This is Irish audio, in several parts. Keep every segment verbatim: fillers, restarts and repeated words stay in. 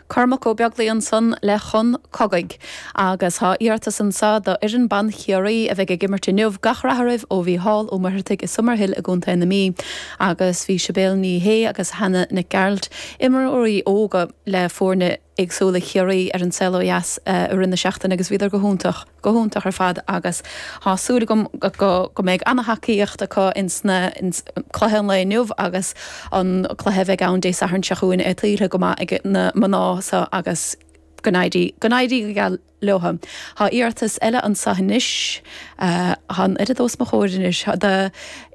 Cormac Ó Beaglaoich ansan le Chun Cogaidh. Agus tá iarratas anso do fhoireann ban Chiarraí a bheidh ag imirt inniu, gach rath oraibh ó Mhícheál Ó Muircheartaigh i Summerhill i gContae na Mí. Agus bhí Sibéal Ní Shé agus Hannah Nic Gearailt, imreoirí óga le foirne éagsúla Chiarraí ar An Saol Ó Dheas i rith na seachtaine agus bhíodar go hiontach, go hiontach ar fad agus tá súil agam go go mbeidh an-tacaíocht acu ins na ins cluiche an lae inniu agus an cluiche a bheidh ann Dé Sathairn seo chugainn é tuillte go maith ag na mná so agus go n-éirí go n-éirí go geal leo. Tá iarratas eile anso anois tá an oiread os mo chomhair anois do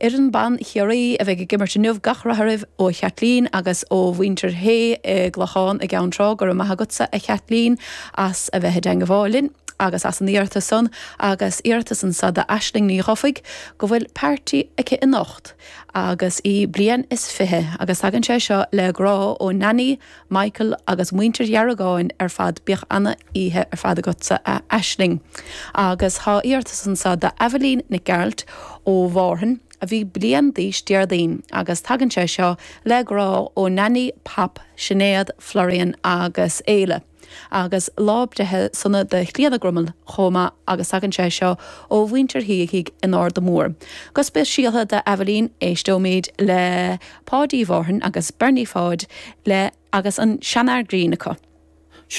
fhoireann ban Chiarraí a bheidh ag imirt inniu gach rath oraibh ó Chaitlín agus ó mhuintir Shé i gClochán i gCeann Trá go raibh maith agatsa a Chaitlín as a bheith i dteagmháil linn agus as an iarratas san agus iarratas anso d'Aisling Ní Chofaigh go bhfuil party aici anocht agus í bliain is fiche agus tagann sé seo le grá ó Nanny, Michael agus muintir Dheargáin ar fad bíodh an-oíche ar fad agatsa a Aisling. Agus tá iarratas anso d'Aibhilín Nic Gearailt ó Mhárthain a bhí bliain d'aois Déardaoin agus tagann sé seo le grá ó Nanny, Pap, Sinéad, Florian agus Éile. Agus lá breithe sona do Chlíona Grummel chomh maith agus tagann sé seo ó mhuintir Shíthigh in Ard Mór. Go speisialta d'Aibhilín éisteoimid le Páidí Mhárthain agus Bernie Pháid le agus an seanfhear grinn acu.